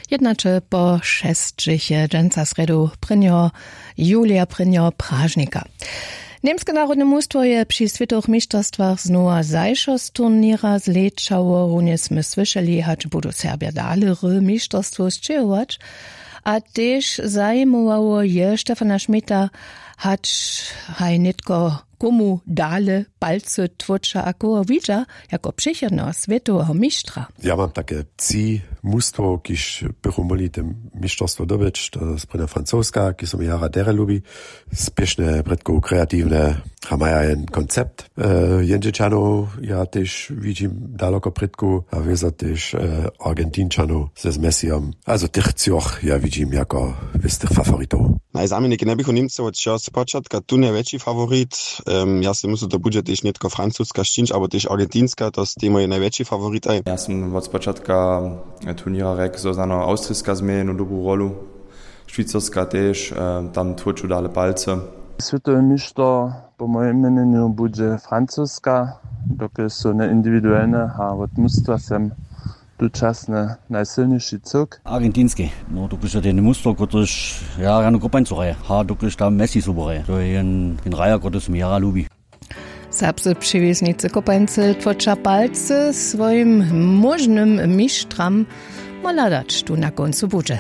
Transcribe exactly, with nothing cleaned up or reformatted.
Jednaće po šesćich je dźensa srjedu prěnjeho julija, prěnjeho pražnika. Němske narodne mustwo je při swětowych mišterstwach znowa zašo z turněra zlečało. Runje smy słyšeli, hač budu Serbja dale ry mišterstwo sćěhować. A tež zajimowało je Stefana Schmidta, hač haj nětko komu dale palcy tłóča a koho widźa jako přichodneho swětoweho mištra. Ja mam take tři mustwo, kiž bychu móhli te mišterstwo dobyć. To je sprěnja Francoska, ki so mi jara derje lubi. Spěšne prědkow, kreatiwne, a maja jen koncept. Jendźelčanow ja tež widźim daloko prědkow a wězo tež Argentinčanow ze z Messijom. Azo tych třoch ja widźim jako wěstych favoritow. Najzaměniki njeběchu Němcy wot wšeho spočatka tu najwjetši faworit. Ja sej myslu, to budźe tež nětko Francuska sćińć abo tež Argentinska, to stej mój najwjetši faworitaj. Ja sym wot spočatka turněra rjekł, zo znano Awstriska změje jednu dobru rolu, Šwicarska tež, tam tłóču dale palcy. Swětowy mišter po mojim měnjenju budźe Francuska, dokelž su njeindiwiduelne a wot mustwa sem tučasny najsylniši cyłk. Argentinski, no dokelž je ten mustwo, kotryž ja rjanu kopańcu hraje, a dokelž tam Messi sobu hraje, to je jen jen hraja, kotryž mi jara lubi. Serbscy přewěznicy kopańcy tłóča palcy swojim móžnym mištram. Móhla dać tu na kóncu budźe.